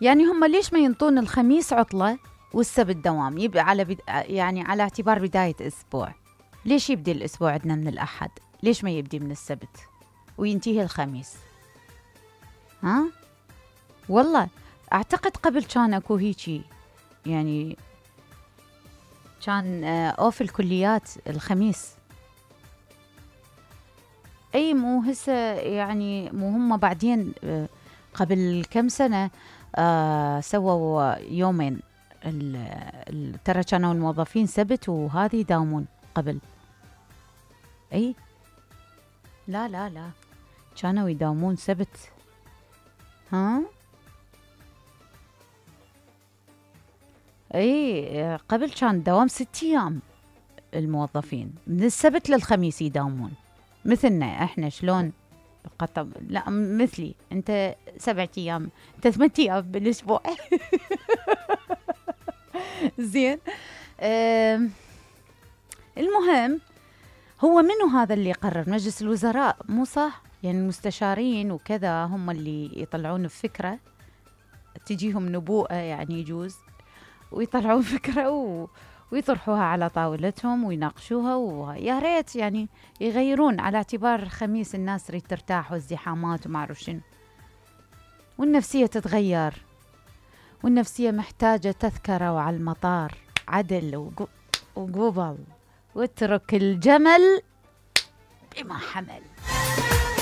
يعني هم ليش ما ينطون الخميس عطلة والسبت دوام؟ يبقى يعني على اعتبار بداية أسبوع. ليش يبدي الأسبوع عندنا من الأحد؟ ليش ما يبدي من السبت وينتهي الخميس؟ ها؟ والله أعتقد قبل كان أكو هيجي، يعني كان أوف الكليات الخميس. أي مو هسه يعني، مو هم بعدين قبل كم سنة سووا يومين ترى كانوا الموظفين سبت وهذه يداومون قبل. اي لا لا لا، كانوا يداومون سبت. ها اي قبل كان دوام 6 ايام، الموظفين من السبت للخميس يداومون، مثلنا احنا شلون قطب. لا مثلي انت 7 ايام، انت 8 ايام بالاسبوع. زين. المهم، هو منو هذا اللي يقرر؟ مجلس الوزراء مو صح؟ يعني المستشارين وكذا هم اللي يطلعون بفكرة، تجيهم نبوءة يعني يجوز، ويطلعون فكرة ويطرحوها على طاولتهم ويناقشوها، ويا ريت يعني يغيرون على اعتبار خميس الناس تريد ترتاح والزحامات وما اعرف شنو، والنفسية تتغير، والنفسية محتاجة تذكرة وعلى المطار عدل وقبل، واترك الجمل بما حمل.